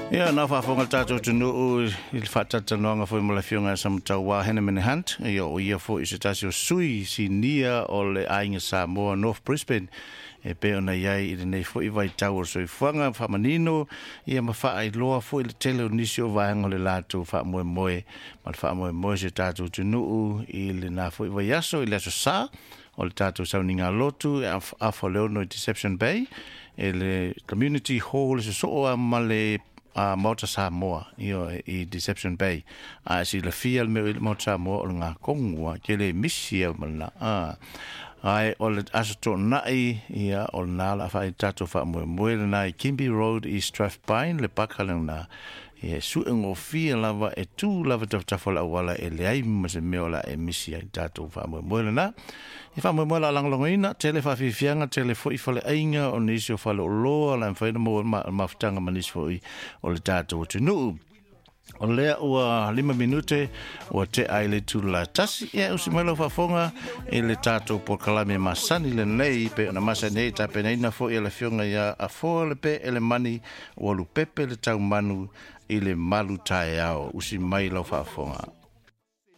Ia, na faafofoga le tatou atunuu i le faatalatalanoaga foi ma le Afioga ia Samatauā Henneman Hunt, ia o ia foi se tasi o sui sinia o le Aiga Samoa North Brisbane e pei ona i ai i lenei foi vaitau o le soifuaga faamanino ia ma faailoa foi le tele o nisi o vaega o le latou faamoemoe ma le faamoemoe o si o tatou atunuu i lena foi vaiaso i le aso Sa o le tatou sauniga lotu e afa o le 6 i Deception Bay e le Community Hall e sosoo lava ma le Maota Samoa ioe i Deception Bay. A e silafia le mea o i ai le Maota Samoa o le gakonu a ke le misi au ma lena. Ae o le Aso Toonai ia o lena o le a fai tatou faamoemoe lena i Kimbi Road i Strathpine le paka lena. Ia e sue gofie lava e tu lava tafatafa o le auala e leai ma se mea o le a e misi ai tatou faamoemoe lena. E faamoemoe o le a lagolagoina, tele faafiafiaga, tele foi faleaiga o nisi o faleoloa o le a mafai ona maua ai mafutaga ma nisi foi o le tatou atunuu. O lea ua 5 minute ua tea ai le itula e 1. Ia, usi mai lau faafofoga i le tatou polokalame masani lenei pei ona masani ai tapenaina foi e le Afioga ia Afoa le Pe Elemani ua lupepe le taumanu i le malu taeao. Usi mai lau faafofoga.